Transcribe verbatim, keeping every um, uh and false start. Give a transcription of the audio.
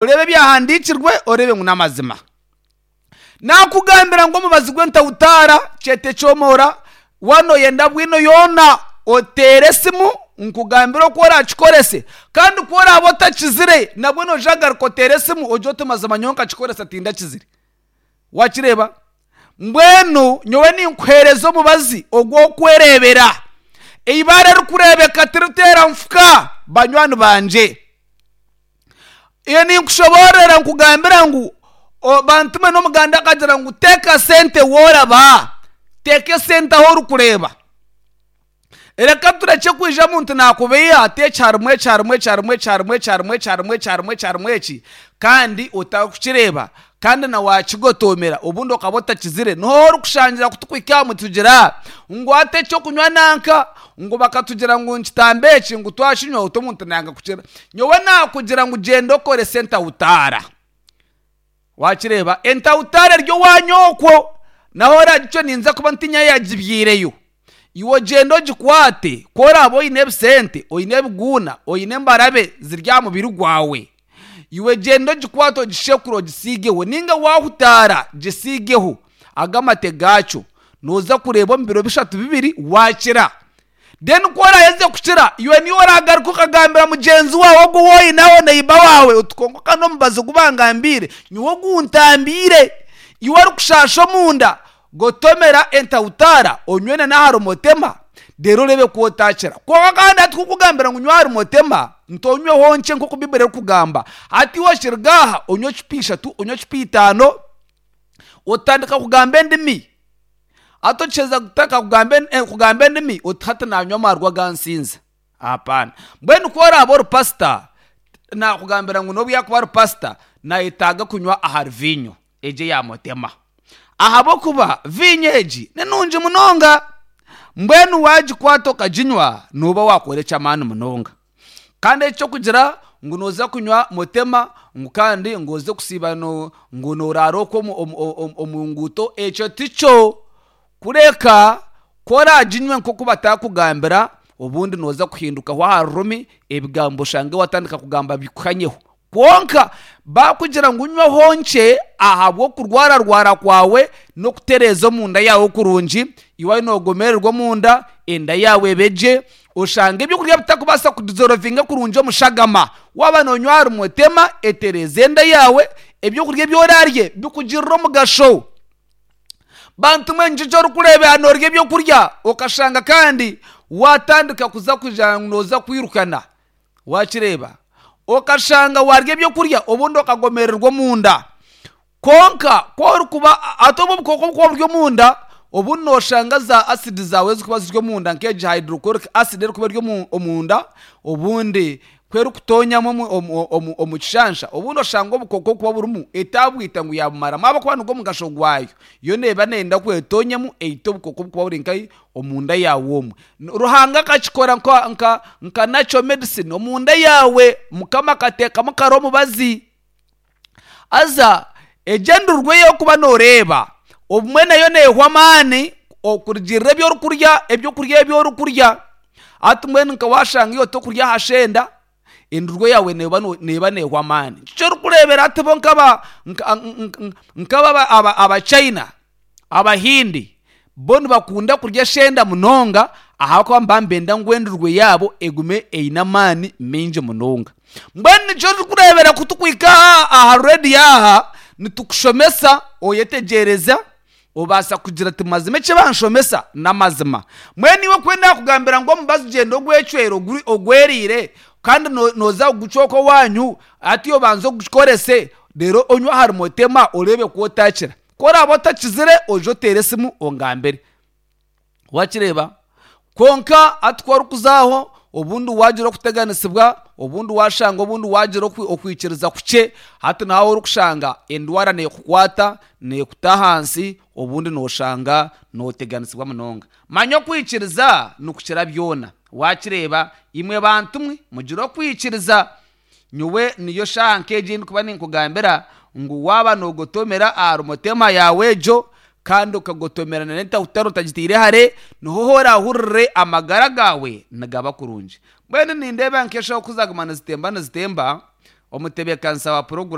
Oreebe ebyahandiikirwe, oreebe ngu n'amazima. Naakugambira ngu omubazi gw'entahutaara kyete kyomora, waaba nooyenda bwino yoona oteere esimu nkugambire oku oraakikorese. Kandi ku oraabe otakizire nabwo noija kugaruka oteere esimu ogire oti mazima nyowe nkakikoresa tindakizire. Waakireeba? Mbwenu nyowe ninkuheereza omubazi ogw'okwereebera. Eibaare erikureebeka tiriteera nfuka banywani bangye. Iyo ninkushoboorora nkugambira ngu bantume n'omuganda akagira ngu teeka sente wooraba, teeka esente ahu orikureeba. Reka turekye kwija omuntu naakubeiha ati eki harimu eki harimu eki harimu eki harimu eki harimu eki harimu eki harimu eki harimu eki kandi otarikukireeba kandi na waakigotoomera obundi okaba otakizire niho orikushangira kutukuhika aha nitugira ngu hati ekyokunywa nanka ngu bakatugira ngu nikitambe eki ngu twakinywa oti omuntu nayanga kukira. Nyowe naakugira ngu gyenda okorese entahutaara. Waakireeba? Entahutaara eri owaanyu okwo nahu oraagicwe ninza kuba ntinya yaagibyireyo. Iwe ogyende ogikwate ku oraabe oine ebisente, oine ebiguuna, oine embarabe ziri aha mubiri gwawe, iwe gyenda ogikwate ogishekure ogisiigeho nainga waahutaara gisiigeho ago amate gaakyo nooza kureeba omu biro bishatu bibiri waakira. Then ku oraaheze kukira iwe niiwe oraagaruka okagambira mugyenzi waawe ogu ou oineho neighbour waawe oti kwonka ka n'omubazi ogu bangambiire nyowe oguntambiire. Iwe orikushaasha omunda gotomera entahutaara onywe na n'aha rumotema reero oreebe ku otaakira. Kwonka kandi hati kukugambira ngu nywa aha rumotema nti onyweho nkye nk'oku Baiburi erikugamba. Hati iwe okiruga aha onywe ecupa ishatu, onywe ecupa itaano otandika kugamba endimi. Hati okiheza kutandika kugamba kugamba endimi oti hati naanywa amaarwa gansinza. Hapana. Mbwenu ku oraabe ori pasita, naakugambira ngu n'obu yaakuba ari pasita, naayetaaga kunywa ahari viinyo egi eya mutema. Ahabw'okuba viinyo egi ni nungi munonga. Mbwenu waagikwata okaginywa, nooba waakora eky'amaani munonga. Kandi eky'okugira ngu nooza kunywa mutema ngu kandi ngu oze kusiiba ngu nooraara okwo omu nguuto, ekyo tikyo. Kureka ku oraaginywe nk'oku bataakugambira, obundi nooza kuhindukaho aha rurimi, ebigambo oshange waatandika kugamba bikuhanyeho. Kwonka baakugira ngu nywaho nkye ahabw'okurwararwara kwawe n'okutereeza omunda yaawe kurungi, iwe waaba noogomererwa omunda, enda yaawe ebe gye, oshange ebyokurya bitakubaasa kudizorovinga kurungi omu shagama. Waaba noonywa aha rumotema, etereeze enda yaawe, ebyokurya ebi oraarye bikugirire omugasho. Bantu mwe nikyo eki orikureebera noorya ebyokurya okashanga kandi waatandika kuza kugira ngu nooza kwirukana. Waakireeba? Okashanga waarya ebyokurya obundi okagomererwa omunda. Kwonka ku orikuba hati obu obukooko obukuba buri omunda, obundi nooshanga za asidi zaawe ezirikuba ziri omunda nk'egi hydrochloric acid erikuba eri omunda, obundi ku erikutoonyamu omu kishansha, obundi oshanga obukooko obukuba burimu etaabwita ngu yaabumaramu ahabw'okuba nigwo mugasho gwayo. Yo neeba neeyenda ku etoonyemu eite obukooko obukuba buri nkahi omunda yaawe omwe. Ruhanga akakikora nka nka nka natural medicine omunda yaawe Mukama akateekamu kare omubazi. Haza egyo endurwe ei orikuba nooreeba obumwe nayo neehwa amaani okurugiirira ebi orikurya ebyokurya ebi orikurya. Hati mbwenu nka waashanga iwe otorikurya aha shenda, endurwe yaawe neeba neeba neehwa amaani. Nikyo orikureebera hati bo nk'aba nk'aba Abachina, Abahindi, bo nibakunda kurya eshenda munonga ahabw'okuba nibaba nibenda ngu endurwe yaabo egume eine amaani maingi munonga. Mbwenu nikyo orikureebera ku turikuhika aha aha reediyo aha, nitukushomesa oyetegyereza, obaasa kugira oti mazima eki banshomesa n'amazima. Mbwenu iwe ku naakugambira ngu omubazi gyenda ogwecwere ogweriire kandi nooza kugucwa okwo owaanyu, hati obanze ogukorese reero onywe ahari mutema oreebe ku otaakira. Ku oraabe otakizire oije oteere esimu ongambire. Waakireeba? Kwonka hati ku orikuza aho obundi waagira okuteganisibwa, obundi waashanga obundi waagira okwikiriza kukye, hati nawe orikushanga endwara neekukwata, neekuta ahansi, obundi nooshanga nooteganisibwa munonga. Manya okwikiriza nikukira byona. Waakireeba? Imwe bantu mwe mugire okwikiriza. Nyowe niyo shaaha nk'egi ei ndikuba ninkugambira ngu waaba noogotomera aha rumotema yaawe egyo kandi okagotomera n'entahutara otagitaire hare, niho oraahurire amagara gaawe nigaba kurungi. Mbwenu nindeeba nk'eshaaha oku zaaguma nizitemba nizitemba. Omutebeekanisa wa puroguraamu.